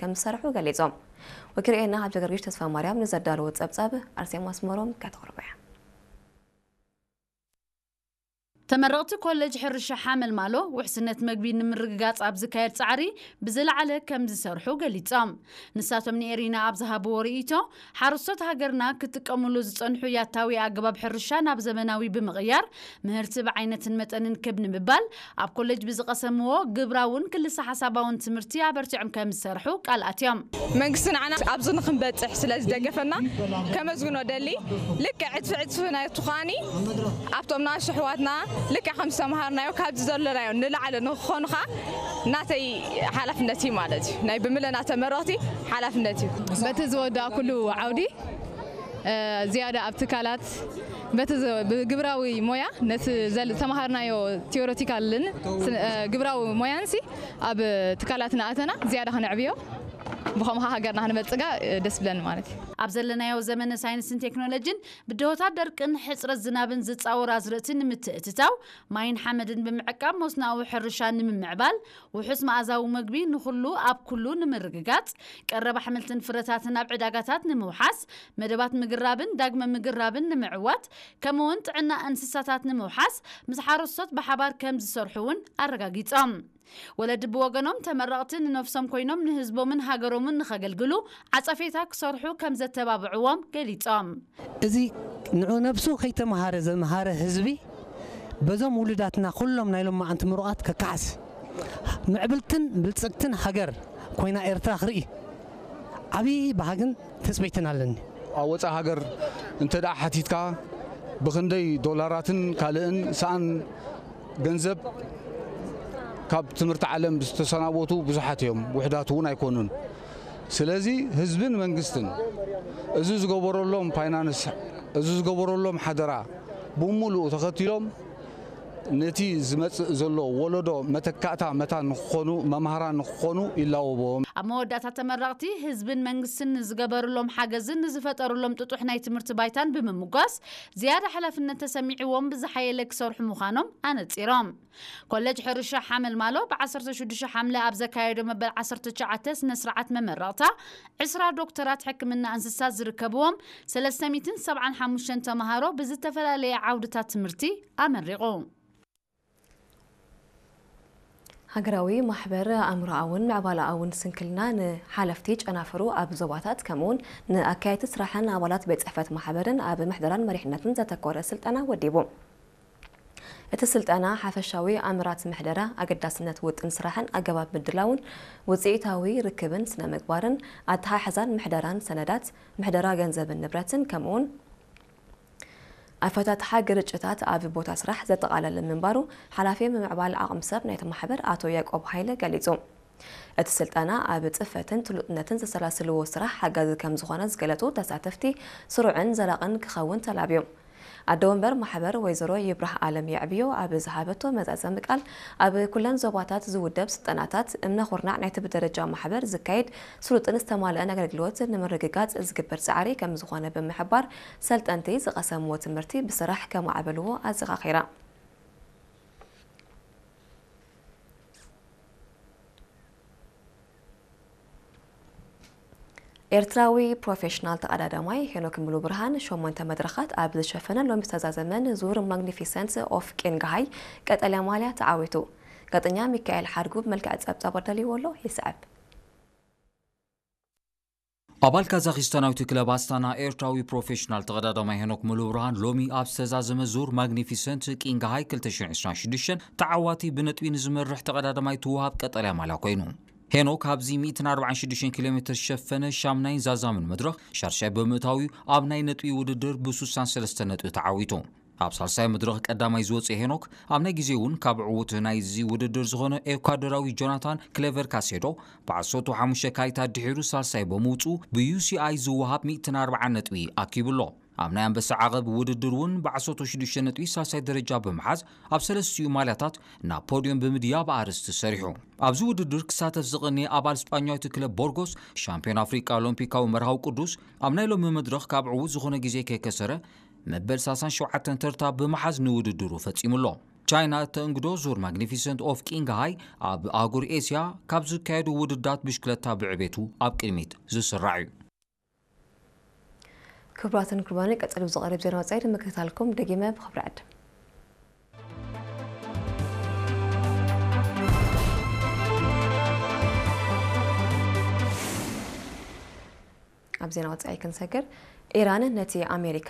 ከም ዝሰርሑ ገሊጾም። ወኪልኤና ሃብተ ገርጊሽ ተስፋ ማርያም ንዘዳለዎ ጸብጻብ ኣርሴማ ኣስመሮም ከተቕርቦ እያ። ተመረቕቲ ኮሌጅ ሕርሻ ሓመልማሎ ውሕስነት መግቢ ንምርግጋጽ ኣብ ዝካየድ ጻዕሪ ብዝለዓለ ከም ዝሰርሑ ገሊጾም። ንሳቶም ንኤሪና ኣብ ዝሃብዎ ርእይቶ፣ ሓረስቶት ሃገርና ክጥቀምሉ ዝጸንሑ ያታዊ ኣገባብ ሕርሻ ናብ ዘመናዊ ብምቕያር፣ ምህርቲ ብዓይነትን መጠንን ክብ ንምባል፣ ኣብ ኮሌጅ ብዝቐሰምዎ ግብራውን ክልሰ ሓሳባውን ትምህርቲ ኣበርቲዖም ከም ዝሰርሑ ቃል ኣትዮም። መንግስቲ ንዓና ኣብዚ ንክንበጽሕ ስለ ዝደገፈና ከመስግኖ ደሊ። ልክዕ ዕጽፊ ዕጽፊ ናይቲ ኳኒ ኣብቶም ናእሽቱ ኣሕዋትና ልክዕ ከም ዝተምሃርናዮ ካብዚ ዘለናዮ ንላዕሊ ንክኾኑኻ ናተይ ሓላፍነት እዩ ማለት እዩ። ናይ ብምለና ተመረቕቲ ሓላፍነት እዩ። በቲ ዝወዳእኩሉ ዓውዲ፣ እ፣ ዝያዳ ኣብ ትካላት በቲ ዝ-፣ ብግብራዊ ሞያ ነቲ ዘል-፣ ዝተምሃርናዮ ቲዮሬቲካልን ስነ-፣ እ፣ ግብራዊ ሞያንሲ ኣብ ትካላት እናኣተና ዝያዳ ከነዕብዮ፣ ብኸምኡ ሃገርና ክንበጽጋ፣ እ፣ ደስ ብለኒ ማለት እዩ። ኣብ ዘለናዮ ዘመነ ሳይንስን ቴክኖሎጂን ብድሆታት ደርቅን ሕጽረት ዝናብን ዝጻወር ኣዝርእቲ ንምትእትታው ማይን ሓመድን ብምዕቃብ መስኖኣዊ ሕርሻ ንምምዕባል፣ ውሑስ መኣዛዊ መግቢ ንኹሉ ኣብ ኩሉ ንምርግጋጽ፣ ቀረብ ኣሕምልትን ፍረታትን ኣብ ዕዳጋታት ንምውሓስ፣ መደባት ምግራብን ዳግመ ምግራብን ንምዕዋት፣ ከምኡውን ጥዕና እንስሳታት ንምውሓስ ምስ ሓረስቶት ብሓባር ከም ዝሰርሑ እውን ኣረጋጊጾም። ወለዲ ብወገኖም ተመረቕቲ ንነፍሶም ኮይኖም ንህዝቦምን ሃገሮምን ንኸገልግሉ ዓጸፌታ ክሰርሑ ከም ዘተባብዕዎም ገሊጾም። እዚ ንዑ ነብሱ ከይተምሃረ ዘምሃረ ህዝቢ በዞም ውሉዳትና ኩሎም ናይ ሎማዓንቲ ምሩቓት ከከሓስ፣ ምዕብልትን ብልጽግትን ሃገር ኮይና ኤርትራ ክርኢ ዓብዪ ባህግን ትጽቢትን ኣለኒ። ኣብ ወጻኢ ሃገር እንተ ደኣ ሓቲትካ ብኽንደይ ዶላራትን ካልእን ሰኣን ገንዘብ ካብ ትምህርቲ ዓለም ዝተሰናበቱ ብዙሓት እዮም፣ ውሑዳት እውን ኣይኮኑን። ስለዚ ህዝብን መንግስትን እዚ ዝገበረሎም ፋይናንስ፣ እዚ ዝገበረሎም ሓደራ ብምሉኡ ተኸቲሎም ነቲ ዝመጽእ ዘሎ ወለዶ መተካእታ መታን ንክኾኑ፣ መምሃራን ንክኾኑ ይላወቦም። ኣብ መወዳእታ ተመረቕቲ ህዝብን መንግስትን ንዝገበርሎም ሓገዝን ንዝፈጠርሎም ጥጡሕ ናይ ትምህርቲ ባይታን ብምምጓስ ዝያዳ ሓላፍነት ተሰሚዕዎም ብዝሓየለ ክሰርሑ ምዃኖም ኣነጺሮም። ኮሌጅ ሕርሻ ሓመልማሎ ብ ዓሰርተ ሽዱሽተ ሓምለ ኣብ ዘካየዶ መበል ዓሰርተ ትሽዓተ ስነ ስርዓት መመረቕታ ዕስራ ዶክተራት ሕክምና እንስሳት ዝርከብዎም ሰለስተ ሚእትን ሰብዓን ሓሙሽተን ተምሃሮ ብዝተፈላለየ ዓውድታት ትምህርቲ ኣመሪቑ። ሃገራዊ ማሕበር ኣእምሮኣውን ምዕባለኣውን ስንክልና ንሓለፍቲ ጨናፍሩ ኣብ ዞባታት ከምኡውን ንኣካየድቲ ስራሕን ኣባላት ቤት ጽሕፈት ማሕበርን ኣብ ምሕደራን መሪሕነትን ዘተኮረ ስልጠና ወዲቡ። እቲ ስልጠና ሓፈሻዊ ኣምራት ምሕደራ፣ ኣገዳስነት ውጥን ስራሕን ኣገባብ ምድላውን ውጽኢታዊ ርክብን ስነ ምግባርን ኣተሓሕዛን ምሕደራን ሰነዳት፣ ምሕደራ ገንዘብን ንብረትን ከምኡውን ኣፈታትሓ ግርጭታት ኣብ ቦታ ስራሕ ዘጠቓለለ ምንባሩ ሓላፊ ምምዕባል ዓቕሚ ሰብ ናይቲ ማሕበር ኣቶ ያዕቆብ ሃይለ ገሊጹ። እቲ ስልጠና ኣብ ጽፈትን ትሉጥነትን ዘሰላስልዎ ስራሕ ሓጋዚ ከም ዝኾነ ዝገለጹ ተሳተፍቲ፣ ስሩዕን ዘላቕን ክኸውን ተላብዩ። ኣደ ወንበር ማሕበር ወይዘሮ ይብራህ ኣለም የዕብዮ ኣብ ዝሃበቶ መዛዘሚ ቃል፣ ኣብ ኩለን ዞባታት ዝውደብ ስልጠናታት እምነ ኩርናዕ ናይቲ ብደረጃ ማሕበር ዝካየድ ስሉጥን ዝተማልአን ኣገልግሎት ንምርግጋጽ ዝግበር ጻዕሪ ከም ዝኾነ ብምሕባር፣ ሰልጠንቲ ዝቐሰምዎ ትምህርቲ ብስራሕ ከማዕበልዎ ኣዘኻኺራ። ኤርትራዊ ፕሮፌሽናል ተቐዳዳማይ ሄኖክ ሙሉብርሃን ሸሞንተ መድረኻት ኣብ ዝሸፈነ ሎሚ ዝተዛዘመ ንዙር ማግኒፊሰንት ኦፍ ቄንግሃይ ቀጠልያ ማልያ ተዓዊቱ። ጋዜጠኛ ሚካኤል ሓድጉ ብመልክዕ ጸብጻብ ኣዳልይዎ ኣሎ፣ ይስዕብ። ኣባል ካዛኺስታናዊት ክለብ ኣስታና ኤርትራዊ ፕሮፌሽናል ተቐዳዳማይ ሄኖክ ሙሉብርሃን ሎሚ ኣብ ዝተዛዘመ ዙር ማግኒፊሰንት ቂንግሃይ ክልተ ሽሕን ዕስራን ሽዱሽተን ተዓዋቲ ብነጥቢ ንዝመርሕ ተቐዳዳማይ ትወሃብ ቀጠልያ ማልያ ኮይኑ። ሄኖክ ኣብዚ ሚእትን ኣርባዓን ሽዱሽተን ኪሎ ሜትር ዝሸፈነ ሻምናይን ዛዛምን መድረኽ ሻርሻይ ብምእታው እዩ ኣብ ናይ ነጥቢ ውድድር ብሱሳን ሰለስተ ነጥቢ ተዓዊቱ። ኣብ ሳልሳይ መድረኽ ቀዳማይ ዝወጸ ሄኖክ ኣብ ናይ ግዜ እውን ካብ ዕዉት ናይዚ ውድድር ዝኾነ ኤኳዶራዊ ጆናታን ክሌቨር ካሴዶ ብዓሰርተ ሓሙሽተ ካይታ ድሒሩ ሳልሳይ ብምውጽኡ ብዩ ሲ ኣይ ዝወሃብ ሚእትን ኣርባዓን ነጥቢ ኣኪቡ ኣሎ። ኣብ ናይ ኣንበሳ ዓቐብ ውድድር እውን ብዓሰርተ ሽዱሽተ ነጥቢ ሳልሳይ ደረጃ ብምሓዝ ኣብ ሰለስቲኡ ማልያታት ናብ ፖድዮም ብምድያብ ኣርእስቲ ሰሪሑ። ኣብዚ ውድድር ክሳተፍ ዝቐነየ ኣባል ስጳኛዊት ክለብ ቦርጎስ ሻምፒዮን ኣፍሪቃ ኦሎምፒካዊ መርሃዊ ቅዱስ ኣብ ናይ ሎሚ መድረኽ ካብ ዕዉት ዝኾነ ግዜ ከይከሰረ መበል ሰላሳን ሸውዓተን ተርታ ብምሓዝ ንውድድሩ ፈጺሙ ኣሎ። ቻይና እተእንግዶ ዙር ማግኒፊሰንት ኦፍ ቂንግሃይ ኣብ ኣህጉር ኤስያ ካብ ዝካየዱ ውድዳት ብሽክለታ ብዕቤቱ ኣብ ቅድሚት ዝስራዕ እዩ። ክቡራትን ክቡራንን፣ ቀጺሉ ዝቐርብ ዜና ወጻኢ ንምክትታልኩም ደጊመ ብኽብሪ ዕድም። ኣብ ዜና ወጻኢ ክንሰግር፣ ኢራን ነቲ ኣሜሪካ